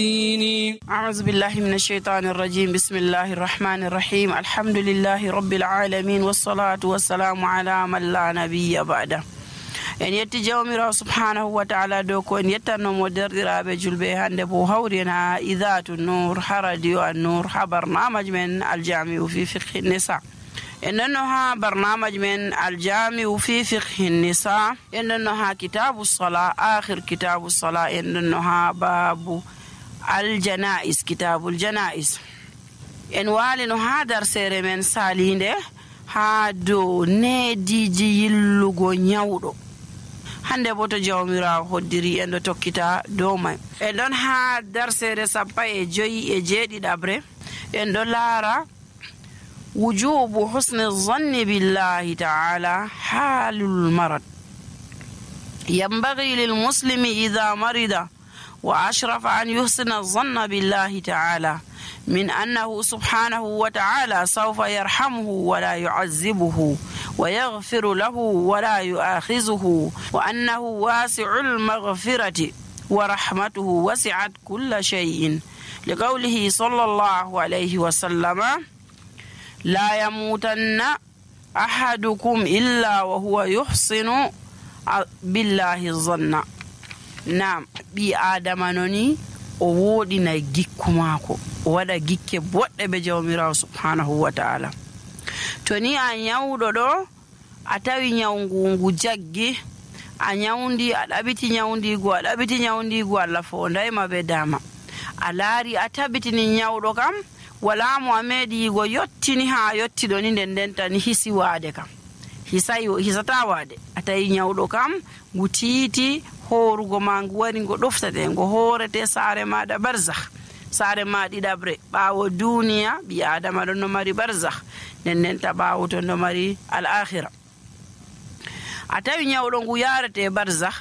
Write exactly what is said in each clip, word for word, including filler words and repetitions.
ديني. أعوذ بالله من الشيطان الرجيم. بسم الله الرحمن الرحيم. الحمد لله رب العالمين والصلاة والسلام على من لا نبي بعده. en yetti jawmirawo subhanahu wa ta'ala dow ko en yettannomo derɗiraɓe julɓe hande bo hawrin ha idatu nour ha radio an nour ha barnamaji men aljamiu fi fiqhi nisa. en nonno ha barnamaji men aljamiu fi fiqhi nisa en nonno ha kitabu sala akhir kitabu sala en nonno ha babu aljanais kitabul janais. en walino ha darsere men salinde ha dow neediji yillugo nyawɗo. hande bo to jawmirawo hoddiri en ɗo tokkita dow may. en ɗon ha darsere sappa e joyi e jeeɗiɗabre en ɗo laara wujubu husni zanni billahi ta'ala halul marad. ينبغي للمسلم إذا مرض وأشرف أن يحسن الظن بالله تعالى من أنه سبحانه وتعالى سوف يرحمه ولا يعذبه ويغفر له ولا يؤاخذه وأنه واسع المغفرة ورحمته وسعت كل شيء لقوله صلى الله عليه وسلم لا يموتن أحدكم إلا وهو يحسن بالله الظن. نعم بي آدم نوني o woɗina gikku maako o waɗa gikke boɗɗe be jawmirawo subhanahu wa ta'ala. to ni a nyawɗo ɗo a tawi nyawngu jaggi a nyawndi a ɗaɓiti nyawndigu a ɗaɓiti nyawndigu Allah fondayma be dama a laari a tabitini nyawɗo kam wala mo a meeɗi yigo yottini ha yottiɗo ni nden nden tan hisi waade kam hisay hisata waade a tawi nyawɗo kam ngu tiiti horugo ma ngu wari ngo ɗoftate ngo horete saare maɗa barzakh saare ma ɗiɗabre ɓaawo duniya ɓi adama ɗon no mari barzakh nden nden ta ɓaawo ton no mari al akhira. a tawi nyawɗo ngu yarete barzakh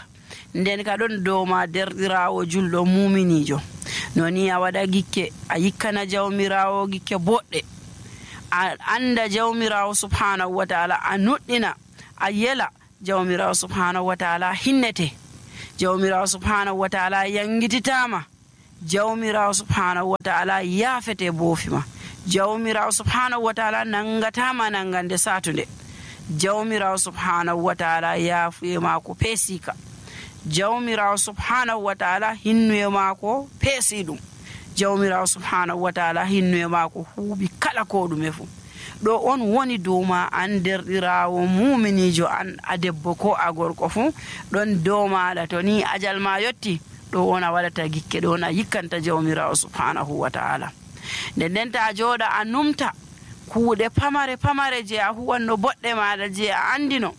nden ka ɗon dow ma derɗirawo julɗo muminijo noni a waɗa gikke a yikkana jawmirawo gikke boɗɗe a anda jawmirawo subhanahu wa ta'ala a nuɗɗina a yela jawmirawo subhanahu wa ta'ala hinnete jawmirawo subhanahu wa ta'ala yangititama jawmirawo subhanahu wa ta'ala yafete boofima jawmirawo subhanahu wa ta'ala nangatama nangande satunde jawmirawo subhanahu wa ta'ala yafuye mako peesika jawmirawo subhanahu wa ta'ala hinnuye mako peesi ɗum jawmirawo subhanahu wa ta'ala hinnuye mako huuɓi kala ko ɗume fu. ɗo on woni dowma an derɗirawo muminijo an a debbo ko a gorko fu ɗon dow maɗa to ni ajal ma yotti ɗo on a waɗata gikke ɗo on a yikkanta jawmirawo subhanahu wa ta'ala. nden nden ta jooɗa a numta kuuɗe pamare pamare je a huwanno boɗɗe maɗa je a andino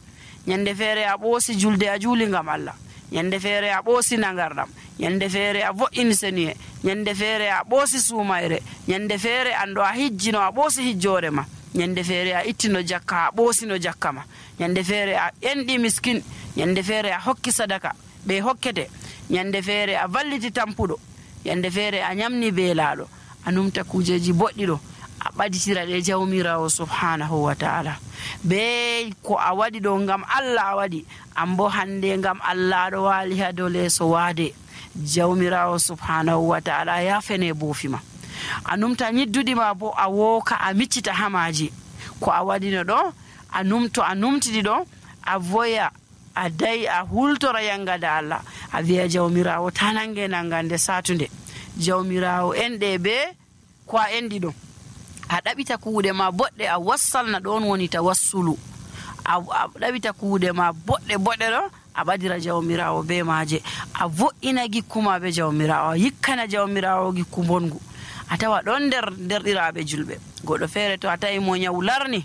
ñande feere a ɓoosi julde a juuli ngam Allah ñande feere a ɓoosi nagarɗam ñande feere a vo'ini seniye ñande feere a ɓoosi suumayre ñande feere anɗo a hijjino a ɓoosi hijjore ma ñande feere a ittino jakka a ɓoosino jakka ma ñande feere a enɗi miskin ñande feere a hokki sadaka ɓe hokkete ñande feere a valliti tampuɗo ñande feere a ñamni beelaaɗo a numta kujeji boɗɗi ɗo a ɓaditira ɗe jawmirawo subhanahu wa ta'ala be ko a waɗi ɗo ngam Allah a waɗi an bo hande ngam Allah ɗo waali ha dow leeso waade jawmirawo subhanahu wa ta'ala yafene boofima a numta ñidduɗi ma bo a wooka a miccita hamaji ko a waɗino ɗo a numto a numtidi ɗo a voya a dayi a hultora yangada Allah a wiya jawmirawo tanange nangande satunde jawmirawo enɗe be ko a enɗi ɗo a ɗaɓita kuuɗe ma boɗɗe a wassalna ɗon woni tawassulu a ɗaɓita kuuɗe ma boɗɗe boɗɗe ɗo a ɓadira jawmirawo be maje a vo'ina gikkuma be jawmirawo a yikkana jawmirawo gikku bongu a tawa ɗon nder derɗiraɓe julɓe goɗɗo feere to a tawi mo nyawu larni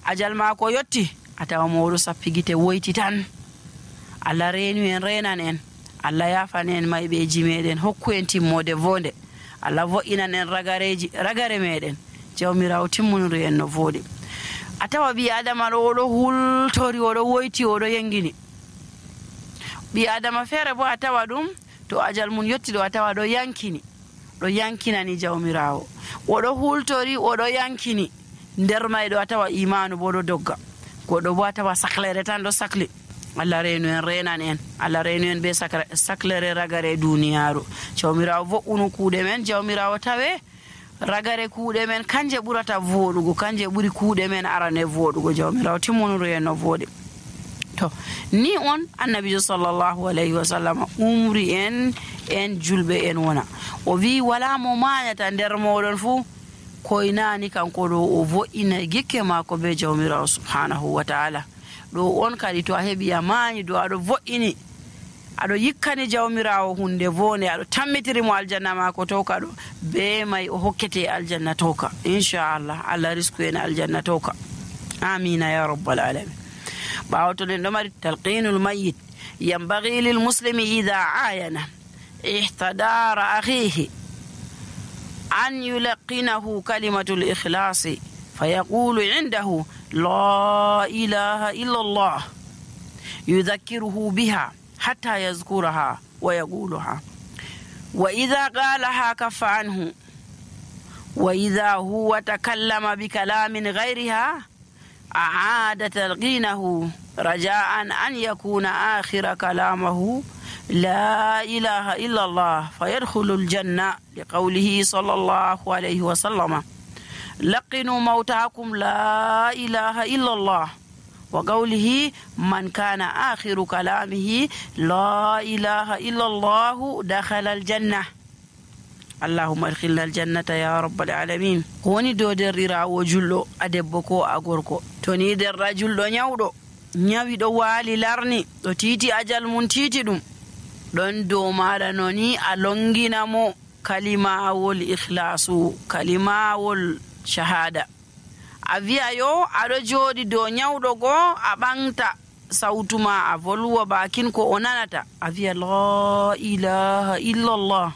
ajal mako yotti a tawa mo oɗo sappi gite woyti tan Allah reenu en renan en Allah yafan en mayɓeji meɗen hokku en timmode vonde Allah vo'inan en ragareji ragare meɗen jawmirawo timmuniri en no voɗi. a tawa ɓi adama ɗo oɗo hultori oɗo woyti oɗo yengini ɓi adama feere bo a tawa ɗum to ajal mum yotti ɗo a tawa ɗo yankini ɗo yankinani jawmirawo oɗo hultori oɗo yankini nder mayɗo a tawa imanu bo ɗo dogga goɗɗo bo a tawa saklere tan ɗo sakli Allah reenu en renan en Allah reenu en be saklere ragare duniyaaru jawmirawo vo'unu kuuɗe men jawmirawo tawe ragare kuuɗe men kanje ɓurata voɗugo kanje ɓuri kuuɗe men arane voɗugo jawmirawo timmonuru en no voɗi to ni on annabijo sallllahu alayhi wa sallam umri en en julɓe en wona o wi wala mo mañata nder moɗon fuu koynani kanko ɗo o vo'ina gikke maako be jawmirawo subhanahu wa taala ɗo on kadi to a heeɓi a mañi do aɗo vo'ini aɗo yikkani jawmirawo hunde vone aɗo tammitirimo aljanna maako towka ɗo be may o hokkete aljanna towka inchallah allah risku en aljanna towka amina ya rabbal alamin ɓawo to nen ɗo mari talqinul mayit yambagi lil muslimi ida ayana ihtadara akhihi an yulaqinahu kalimatul ikhlasi fayaqulu indahu la ilaha illa allah yudhakkiruhu biha حتى يذكرها ويقولها وإذا قالها كف عنه وإذا هو تكلم بكلام غيرها أعاد تلقينه رجاء أن يكون آخر كلامه لا إله إلا الله فيدخل الجنة لقوله صلى الله عليه وسلم لقنوا موتاكم لا إله إلا الله وقوله من كان آخر كلامه لا إله إلا الله دخل الجنة اللهم ادخلنا الجنة يا رب العالمين هوني دو دريرا وجلو أدبكو أغوركو توني در رجل دو نيودو نيوي دو والي لارني دو تيتي أجل من تيتي دوم دون دو مالا نوني ألونغينا مو كلمة والإخلاص كلمة والشهادة a wi'a yo aɗo jooɗi dow nyawɗo goo a ɓanta sawtu ma a volwa bakin ko o nanata a wi'a la ilaha illallah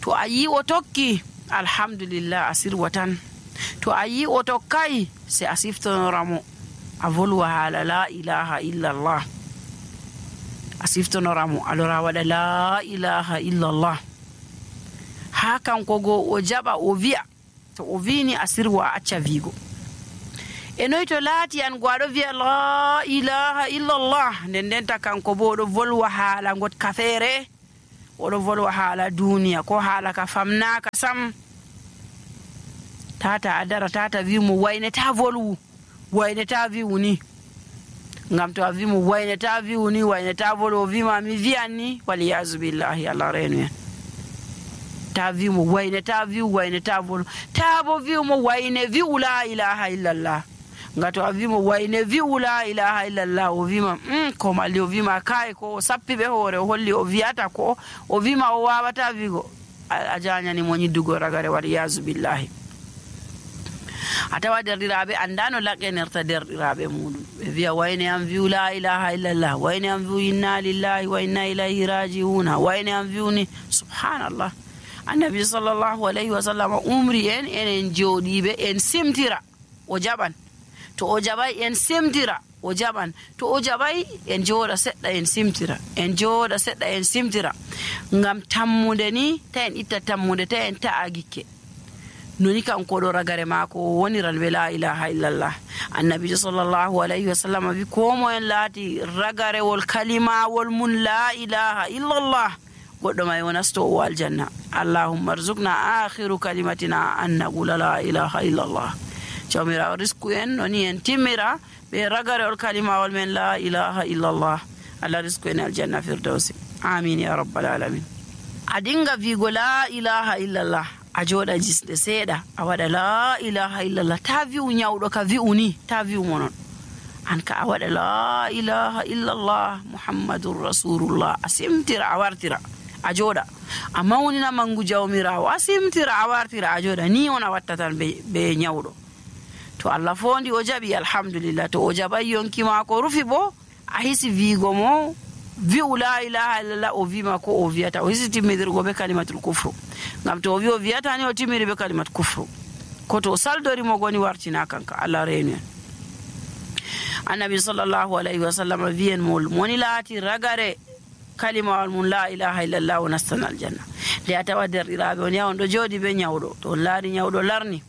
to a yi o tokki alhamdulillah a sirwa tan to a yi o tokkay se a siftonoramo a volwa haala la ilaha illallah a siftonoramo alora waɗa la ilaha illallah ha kanko goo o jaɓa o wi'a to o wini a sirwa a acca wiigo e noy to laati an gwaɗo wiya la ilaha illallah nden ndenta kanko bo oɗo volwa haala got ka feere oɗo volwa haala duniya ko haala ka famnaka sam tata a dara tata wimo wayneta volwu wayneta wiwu ni ngam to a wimo wayneta wiwu ni wayneta volwu o wima mi wiyan ni waliyasu billahi allah reenu en ta vi mo wayne ta vi wayne ta vol ta bo vi mo wayne vi la ilaha illallah ngato a vi mo wayne vi la ilaha illallah o vima mm ko mali o vima kai ko sappi be hore o holli o viata ko o vima o wawata vigo a janyani mo nyiddugo ragare wadi yazu billahi atawa derdirabe andano laqenerta derdirabe mudum be viya wayne am vi la ilaha illallah wayne am vi inna lillahi wa inna ilayhi raji'un wayne am vi ni subhanallah annabi sallallahu alayhi wa sallam umri en enen jodibe en simtira o jaban to o jabay en simtira o jaban to o jabay en joda sedda en simtira en joda sedda en simtira ngam tammude ni ta en itta tammude ta en ta'agikke noni kanko do ragare mako woniran be la ilaha illallah annabi sallallahu alayhi wa sallam bi ko mo en laati ragare wol kalima wol mun la ilaha illallah goddo may wonasto o aljanna allahumma arzuqna akhiru kalimatina an naqula la ilaha illallah jawmira risku en noni en timira be ragare ol kalima wol men la ilaha illallah allah risku en aljanna firdausi amin ya rabbal alamin adinga vigo la ilaha illallah a joda jisde seeda a wada la ilaha illallah ta viu nyawdo ka viuni ta viu monon an ka a wada la ilaha illallah muhammadur rasulullah asimtira awartira a joda amma woni na mangu jawmirawo asimtira awartira a joda ni ona wattatan be be nyawdo to allah fondi o jabi alhamdulillah to o jabay yonki ma ko rufi bo a hisi vigo mo vi la ilaha illallah o vi ma ko o viata o hisi timidirgo be kalimatul kufru ngam to o vi o viata ni o timiri be kalimat kufru ko to saldori mo goni wartina kanka allah reenu annabi sallallahu alaihi wasallam vien mol moni laati ragare kalima mun la ilaha illallah wa nastana aljanna le atawa der irabe on yawon do jodi be nyawdo to laari nyawdo larni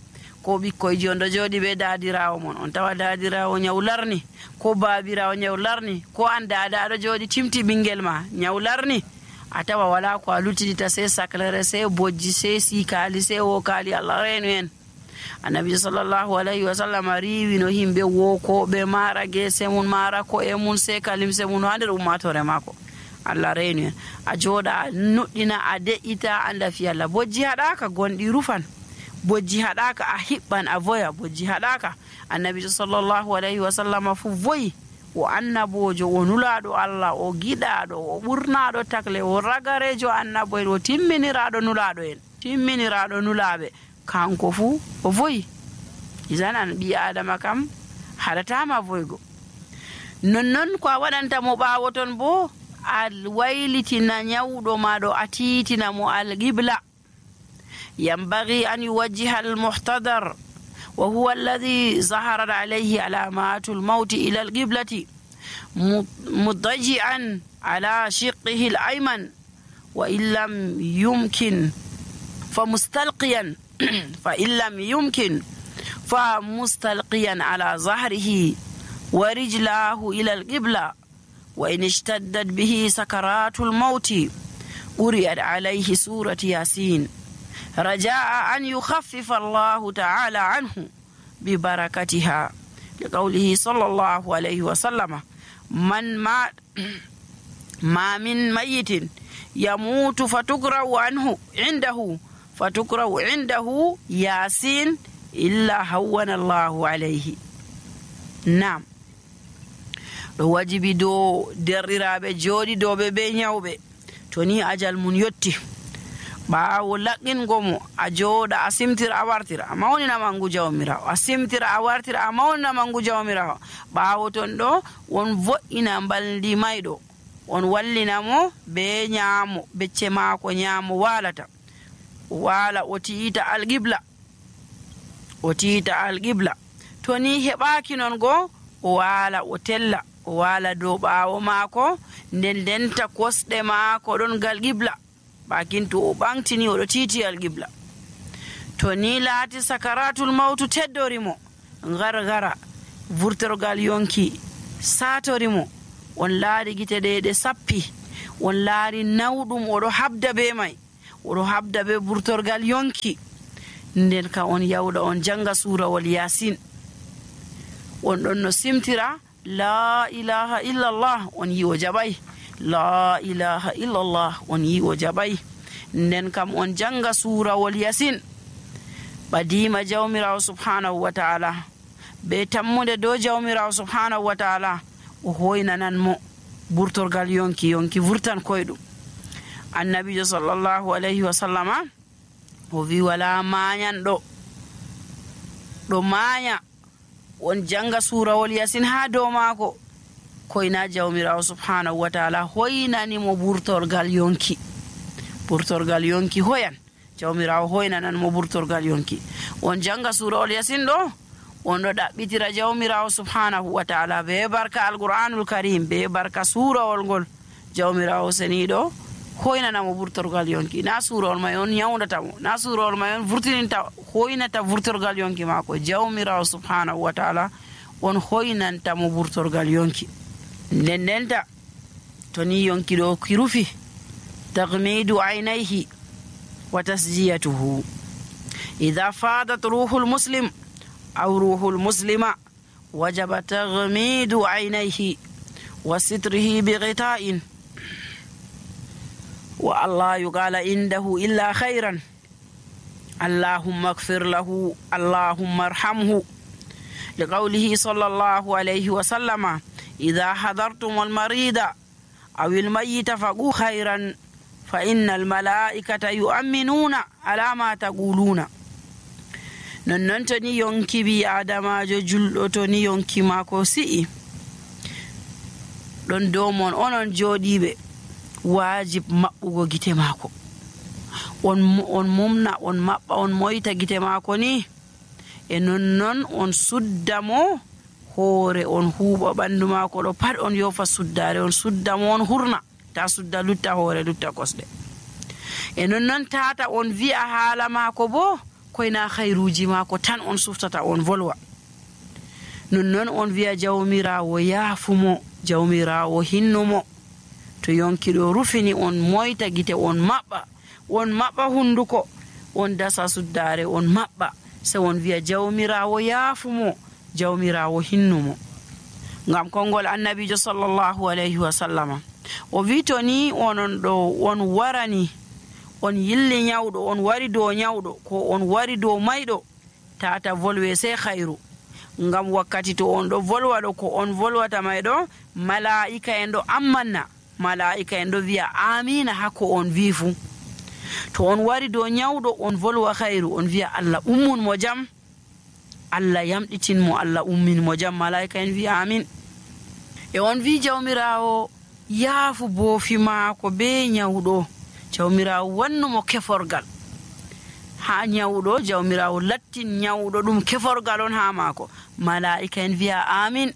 ko ɓikkoyji on ɗo jooɗi ɓe daadirawo mon, on tawa daadirawo nyawlarni, ko baabirawo nyawlarni, ko an daada aɗo jooɗi timti ɓingel ma nyawlarni, a tawa wala ko a luttidita sey saclere, sey bojji, sey sikali, sey wokali. Allah reenu en. Annabi sallallahu alayhi wa sallam riiwi no himɓe wokoɓe mara gese mum, mara ko'e mum, sey kalimse mum ha nder ummatore maako. Allah reenu en. A jooɗa a nuɗɗina, a de'ita, anda fi Allah. Bojji haɗaka gonɗi rufan, bojji haɗaka a hiɓɓan a voya, bojji haɗaka. Annabi sallallahu alayhi wa sallam fu voyi, o annabojo, o nulaɗo Allah, o giɗaɗo, o ɓurnaɗo takle, o ragarejo annabo en, o timminiraɗo nulaɗo en, timminiraɗo nulaɓe, kanko fu o voyi. Izanan ɓi adama kam haɗatama voygo. Nonnon ko a waɗantamo ɓawo ton bo, a waylitina nyawɗo maɗo, a tiitina mo alqibla. ينبغي أن يوجه المحتضر وهو الذي ظهرت عليه علامات الموت إلى القبلة مضطجعا على شقه الأيمن، وإن لم يمكن فمستلقيا فإن لم يمكن فمستلقيا على ظهره ورجلاه إلى القبلة. وإن اشتدت به سكرات الموت قرئت عليه سورة ياسين رجاء أن يخفف الله تعالى عنه ببركتها، لقوله صلى الله عليه وسلم: من ما ما من ميت يموت فتقرأ عنه عنده فتقرأ عنده ياسين إلا هون الله عليه. نعم، wajibi do derriraɓe jooɗi dow ɓe be nyawɓe to ni ajal mun yotti, ɓaawo laqqingo mo a jooɗa a simtira a wartira a mawnina mangu jawmirawo, a simtira a wartira a mawnina mangu jawmirawo. ɓaawo ton ɗo won vo'ina mbaldi mayɗo, on wallina mo be nyaamo, becce maako nyaamo waalata, o waala o tiita alqibla, o tiita alqibla. to ni heɓaaki non go o waala o tella, o waala dow ɓaawo maako, nden denta kosɗe maako ɗon gal qibla, bakin to o ɓantini oɗo tiiti alqibla. to ni laati sakaratul mawtu teddorimo, gargara vurtorgal yonki satorimo, on laari gite ɗe ɗe sappi, on laari nawɗum oɗo habda be may, oɗo habda be vurtorgal yonki, nden ka on yawɗa on janga surawol yasin, on ɗon no simtira la ilaha illallah, on yi o jaɓay, la ilaha illallah, on yi o jaɓay. nden kam on janga surawol yasin, ɓadima jawmirawo subhanahu wa ta'ala, be tammude dow jawmirawo subhanahu wa ta'ala, o hoynanan mo burtorgal yonki, yonki vurtan koyɗum. annabijo sallallahu alayhi wa sallama o wi wala mayanɗo ɗo maya on janga surawol yasin ha dow maako koyna jawmirawo subhanahu wa ta'ala hoynani mo burtorgal yonki, burtorgal yonki hoyan, jawmirawo hoynanan mo burtorgal yonki. on janga surawol yasin ɗo on ɗo ɗaɓɓitira jawmirawo subhanahu wa ta'ala be barka alqur'anul karim, be barka surawol ngol jawmirawo seniɗo hoynanamo burtorgal yonki. na surawol may on nyawdatamo, na surawol may on vurtininta, hoynata vurtorgal yonki maako, jawmirawo subhanahu wa ta'ala on hoynantamo burtorgal yonki. nden ndenta to ni yonki ɗo ki rufi, tagmidu aynayhi wa tasjiyatuhu. idha fadat ruhul muslim aw ruhul muslima wajaba tagmidu aynayhi wa sitrihi bi ghita'in wa Allah yuqala indahu illa khayran. allahumma ighfir lahu, allahumma arhamhu, liqawlihi sallallahu alayhi wa sallama: idha hadartum almarida aw almayyita faqu khayran fa inna almalaikata yu'minuna ala ma taquluna. nonnon to ni yonki bi adamajo julɗo, to ni yonki maako si'i ɗon dow mon onon jooɗiɓe, wajib maɓɓugo gite maako, on on mumna, on maɓɓa, on moyta gite maako ni, e nonnon on sudda mo hoore, on huuɓa ɓandu maako ɗo pat, on yofa suddare, on sudda mo, on hurna, ta sudda lutta hoore, lutta kosɗe. e nonnon tata on wi'a haala maako bo ko koyna khairuji maako tan on suftata on volwa. Nonnon on wi'a jawmirawo yaafumo, jawmirawo hinnumo. To yonkiɗo rufini on moyta gite on maɓɓa, on maɓɓa hunduko, on dasa suddare on maɓɓa, se on wi'a jawmirawo yaafumo, jawmirawo hinnumo. Ngam kongol annabijo sallallahu alayhi wa sallama o wi to ni onon ɗo on warani on yilli nyawɗo, on wari dow nyawɗo ko on wari dow mayɗo, tata volwe sey khairu. Ngam wakkati to on ɗo volwa ɗo ko on volwata mayɗo, mala'ika en ɗo ammanna, mala'ika en ɗo wi'a amina hakko on wi fu. To on wari dow nyawɗo on volwa khairu, on wi'a Allah ummun mo jam, Allah yamɗitin mo, Allah ummin mo jam, mala'ika en wi'a amin. E on wi jawmirawo yaafu boofi maako be nyawɗo, jawmirawo wannumo keforgal ha nyawɗo, jawmirawo lattin nyawɗo ɗum keforgal on ha maako, mala'ika en wi'a amin.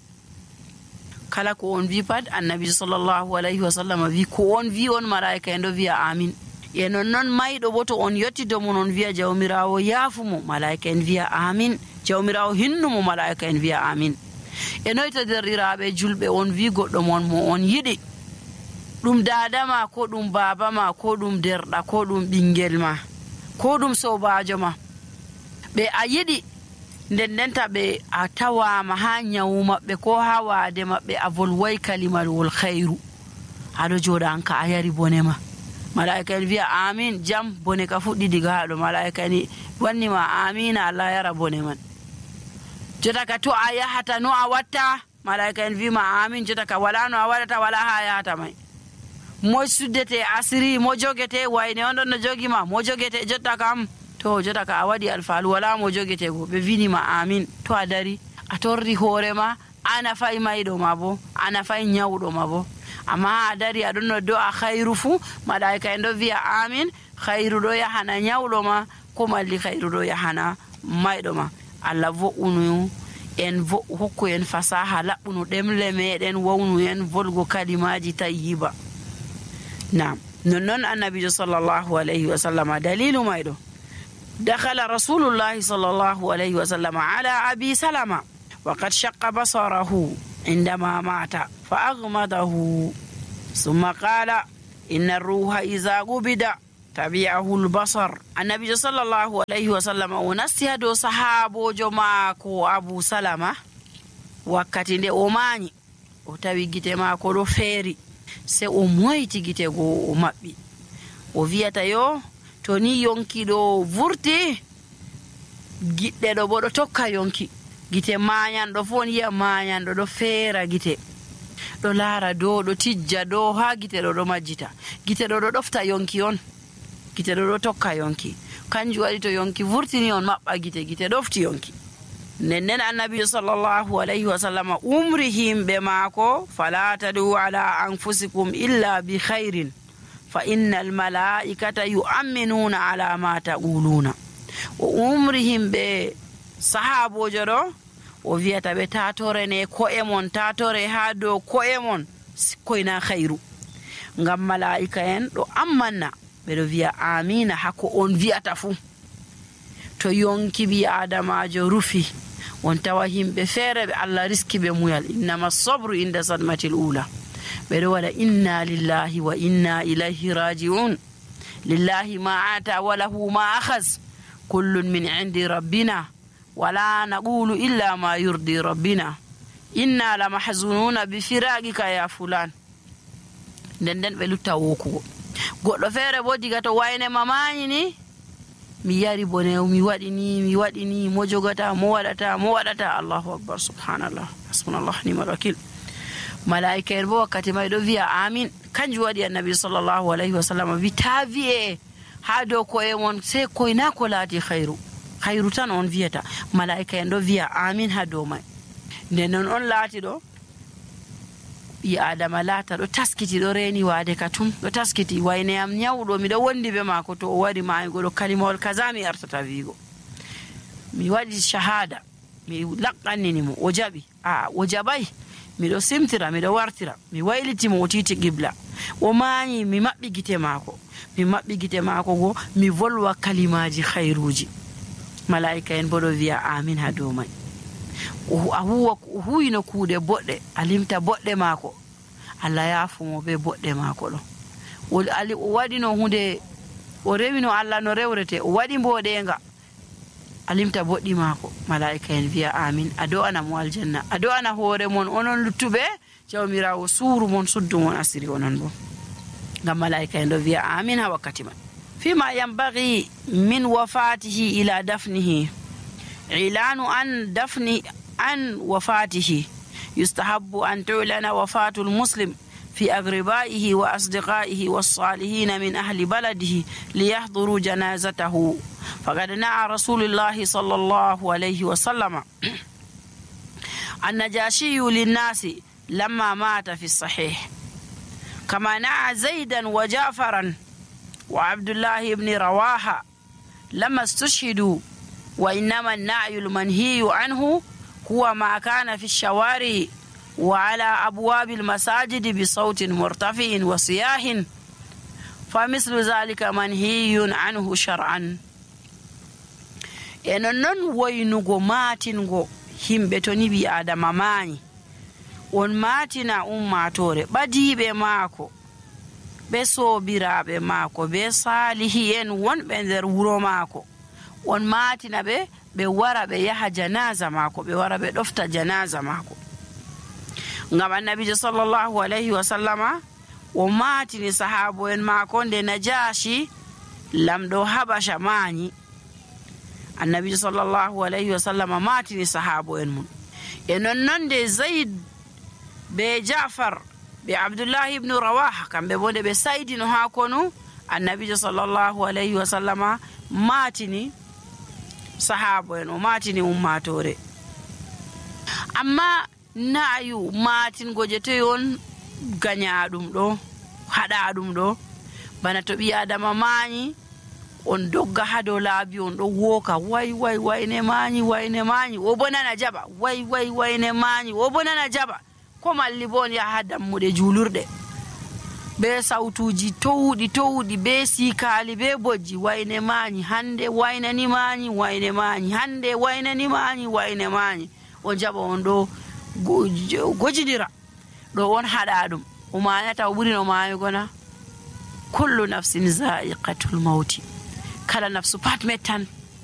Kala ko on wi pat annabi sallallahu alayhi wa sallam wi ko on wi on mala'ika en ɗo wi'a amin. E nonnon mayɗo bo to on yetti dow mon on wi'a jawmirawo yaafumo, mala'ika en wi'a amin. Jawmirawo hinnumo, mala'ika en wi'a amin. E noyta derɗiraɓe julɓe on wi goɗɗo mon mo on yiɗi, ɗum dadama ko ɗum baba ma ko ɗum derɗa ko ɗum ɓingel ma ko ɗum sobajo ma, ɓe a yiɗi nden ndenta ɓe a tawama ha nyawu maɓɓe ko ha waade maɓɓe a volway kalimalwol khairu, aɗo joɗa an ka a yari bone ma, mala'ika en wi'a amin, jam bone ka fuɗɗi diga haɗo, mala'ika en wannima amina, Allah yara bone man. Jota ka to a yahata no a watta, mala'ika en wima amin. Jota ka wala no a waɗata, wala ha yahata may. Mo suddete asiri, mo jogete wayne on ɗon no jogi ma, mo jogete jotta kam to jota ka a waɗi alfalu wala mo jogete go, ɓe winima amin. To a dari a torri hoorema, ana fay mayɗo ma bo, ana fay nyawɗo ma bo, amma a dari aɗon no do a khairu fu, mala'ika en ɗo wi'a amin. Khairu ɗo yahana nyawɗo ma, ko malli khairu ɗo yahana mayɗo ma. Allah vo'unu en vo hokku en fasaha laɓɓunu ɗemle meɗen, wawnu en volgo kalimaji tayyiba. Naam, nonnon annabijo sallallahu alayhi wa sallam dalilu mayɗo, dakhala rasulullahi sallallahu alayhi wa sallam ala abi salama wa qad shaqqa basarahu indama mata fa aghmadahu thumma qala inna ar-ruha idha qubida tabi'ahu al-basar. Annabijo sallallahu alayhi wa sallam o nasti ha dow sahabojo maako Abu Salama wakkati nde o mañi, o tawi gite maako ɗo feeri, se o moyti gite goo o maɓɓi, o wiyata yo to ni yonki ɗo vurti, giɗɗe ɗo bo ɗo tokka yonki, gite mañanɗo fo on yiya mañanɗo ɗo feera gite, ɗo laara dow, ɗo tijja dow ha gite ɗo ɗo majjita, gite ɗo ɗo ɗofta yonki on, gite ɗo ɗo tokka yonki. Kanjum waɗi to yonki vurtini on maɓɓa gite, gite ɗofti yonki. Nden nden annabijo sallallahu alayhi wa sallam umri himɓe maako, fala tadu ala anfusikum illa bi khairin fa inna almalaikata yu'minuna ala ma taquluna. O umri himɓe sahabojo ɗo, o wiyata ɓe tatorene ko'e mon, tatore ha dow ko'e mon koyna khairu, ngam malaika en ɗo ammanna, ɓeɗo wiya amina hakko on wiyata fu. To yonki bi adamajo rufi, on tawa himɓe feere ɓe Allah riski ɓe muyal, innama sabru inda sadmatil ula, ɓeɗo waɗa inna lillahi wa inna ilayhi raji'un, lillahi ma ata wa lahu ma akhaz, kullun min indi rabbina wala naqulu illa ma yurdi rabbina, inna la mahzununa bi firaqika ya fulan. Nden nden ɓe lutta wokugo. Goɗɗo feere bo diga to wayne mamañi ni, mi yari bone, mi waɗi ni, mi waɗi ni, mo jogata, mo waɗata, mo waɗata. Allahu akbar, subhanallah, hasbunallah ni'mal wakil. Malaika en bo wakkati may ɗo wiya amin. Kanjum waɗi annabi sallallahu alayhi wa sallam wi ta wi'e ha dow koye mon sey koyna ko laati khairu, khairu tan on wiyata. Malaika en ɗo wiya amin ha dow may. Nden non on laati ɗo ɓi adama laata ɗo taskiti, ɗo reeni waade ka tum, ɗo taskiti wayne am nyawɗo, miɗo wondi be maako, to o wari maayugo ɗo kalimawol kaza mi artata wiigo, mi waɗi shahada, mi laqqannini mo, o jaɓi, a o jaɓay, miɗo simtira, miɗo wartira, mi waylitimo, o titi qibla, o maayi, mi maɓɓi gite maako, mi maɓɓi gite maako go, mi volwa kalimaji khairuji. malaika en bo ɗo wiya amin ha dow mai. a huwa huwino kuuɗe boɗɗe, a limta boɗɗe maako, Allah yaafumo be boɗɗe maako ɗo. o waɗino hunde, o rewino Allah no rewrete, o waɗi mboɗenga, a limta boɗɗi maako, malaika en wiya amin. a do'ana mo aljanna, a do'ana hoore mon onon luttuɓe, jawmirawo suuru mon, suddu mon asiri onon bo, ngam malaika en ɗo wiya amin ha wakkati man. fima yambagi min wafatihi ila dafnihi ilanu an dafni an wafatihi yustahabbu an tu'lana wafatul muslim في أقربائه وأصدقائه والصالحين من أهل بلده ليحضروا جنازته. فقد نعى رسول الله صلى الله عليه وسلم النجاشي للناس لما مات في الصحيح، كما نعى زيدا وجعفرا وعبد الله بن رواحة لما استشهدوا. وإنما النعي المنهي عنه هو ما كان في الشوارع وعلى أبواب المساجد بصوت مرتفع وصياح، فمثل ذلك منهي عنه شرعا. enen non waynugo matingo himɓe to ni ɓi adama mayi, on matina ummatore ɓadiɓe maako ɓe sobiraɓe maako ɓe salihi en wonɓe nder wuro maako, on matina ɓe ɓe wara ɓe yaha janaza maako, ɓe wara ɓe ɗofta janaza maako. ngam annabijo sallallahu alayhi wa sallama o matini sahabo en maako nde Najashi lamɗo Habasha mañi. annabijo sallallahu alayhi wa sallama matini sahabo en mum. e nonnon nde Zaid be Ja'far be Abdullah ibn Rawaha kamɓe bo nde ɓe saydino ha konu, annabijo sallallahu alayhi wa sallama matini sahabo en, o matini ummatore. amma na'yu matingo je toy on gañaɗum ɗo, haɗa ɗum ɗo, bana to ɓi adama mañi on dogga ha dow laabi on ɗo woka way way wayne mañi wayne mañi, o bo nana jaɓa way way wayne mañi, o bo nana jaɓa, ko malli bo on yaha ha dammuɗe julurɗe be sautuji towɗi towɗi be sikali be bojji, wayne mañi hande waynani mañi wayne mañi hande waynani mañi wayne mañi, on jaɓa on ɗo gojidira ɗo on haɗa ɗum, o mañata o ɓuri no mayugo na. kullu nafsin za'iqatul mauti, kala nafsu pat mettan